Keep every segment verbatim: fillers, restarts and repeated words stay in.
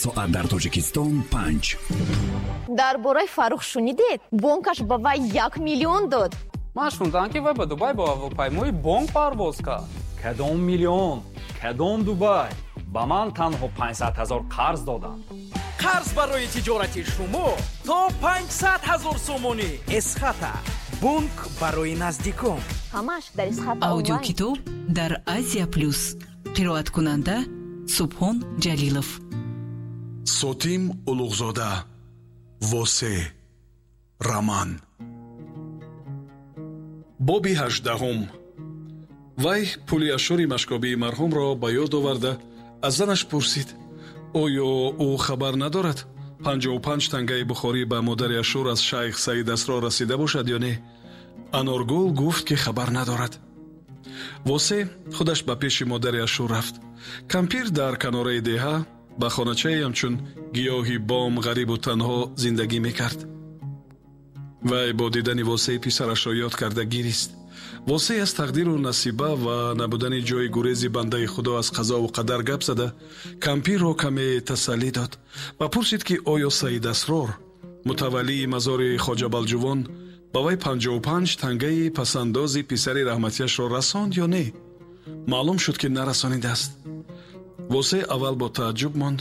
Соат дар Тоҷикистон панҷ. Дар бораи Фаррух шунидед? Бонкаш ба вай як миллион дод. Ман шунидам, ки вай ба Дубай бо ҳавопаймои бонк парвоз кард. Кадом миллион, кадом Дубай? Ба ман танҳо панҷсад ҳазор қарз доданд. Қарз барои тиҷорати шумо то панҷсад ҳазор сомонӣ. Эсхата, бонк барои наздикон. Ҳамаш дар Эсхата онлайн. Аудиокитоб дар Азия Плюс. Қироаткунанда Субҳон Ҷалилов. Сотим Улуғзода, Восе, роман. Боби ҳаждаҳум. Вай пули Ашури Машкобии марҳумро ба ёд оварда, аз занаш пурсид, оё ӯ хабар надорад, панҷоҳу панҷ тангаи бухорӣ ба модари Ашур аз шайх Саид Асрор расида бошад ё не. Аноргул гуфт, ки хабар надорад. Восе худаш ба пеши модари Ашур рафт. Кампир дар канораи деҳа ба хоначае ҳамчун гиёҳи бом ғарибу танҳо зиндагӣ мекард. Вай бо дидани Восеи писарашро ёд карда гирист. Восей аз тақдиру насиба ва набудани ҷои гурези бандаи Худо аз қазову қадар гап зада, кампирро каме тасаллӣ дод ва пурсид, ки оё Саид Асрор, мутаваллии мазори Хоҷа Балҷувон, ба вай панҷоҳу панҷ тангаи пасандози писари раҳматияшро расонд ё не. Маълум шуд, ки нарасонидааст. Восе аввал бо тааҷҷуб монд,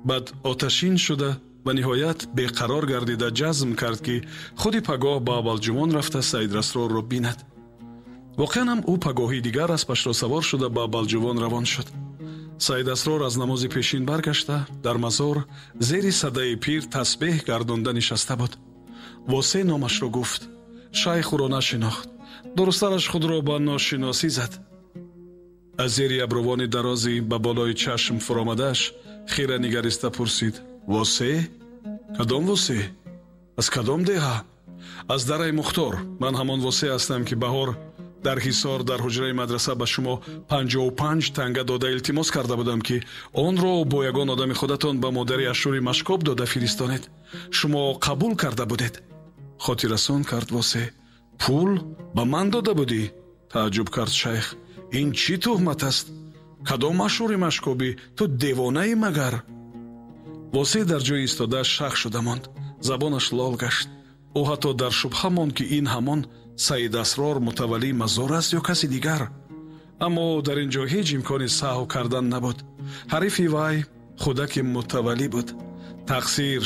баъд оташин шуда ва ниҳоят беқарор гардида ҷазм кард, ки худи пагоҳ ба Балҷувон рафта Саид Асрорро бинад. Воқеан ҳам ӯ пагоҳи дигар аспашро савор шуда ба Балҷувон равон шуд. Саид Асрор аз намози пешин баргашта, дар мазор зери садаи пир тасбеҳ гардонда нишаста буд. Восе номашро гуфт. Шайх ӯро нашинохт. Дурусттараш, худро ба ношиносӣ зад. Аз зери абрувони дарози ба болои чашм фуромадааш хира нигариста пурсид: «Восе? Кадом Восе? Аз кадом деҳа?» «Аз дараи Мухтор. Ман ҳамон Восе ҳастам, ки баҳор дар Ҳисор дар ҳуҷраи мадраса ба шумо панҷоҳу панҷ танга дода илтимос карда будам, ки онро бо ягон одами худатон ба модари Ашури Машкоб дода фиристонед. Шумо қабул карда будед», хотиррасон кард Восе. «Пул ба ман дода будӣ?» тааҷҷуб кард шайх. «Ин чӣ туҳмат аст? Кадом Ашури Машкобӣ? Ту девонаӣ магар?» Восе дар ҷои истода шах шуда монд. Забонаш лол гашт. Ӯ ҳатто дар шубҳа монд, ки ин ҳамон Саид Асрор, мутаваллии мазор аст ё каси дигар. Аммо дар ин ҷо ҳеҷ имкони саҳв кардан набуд. Ҳарифи вай худаки мутаваллӣ буд. Тақсир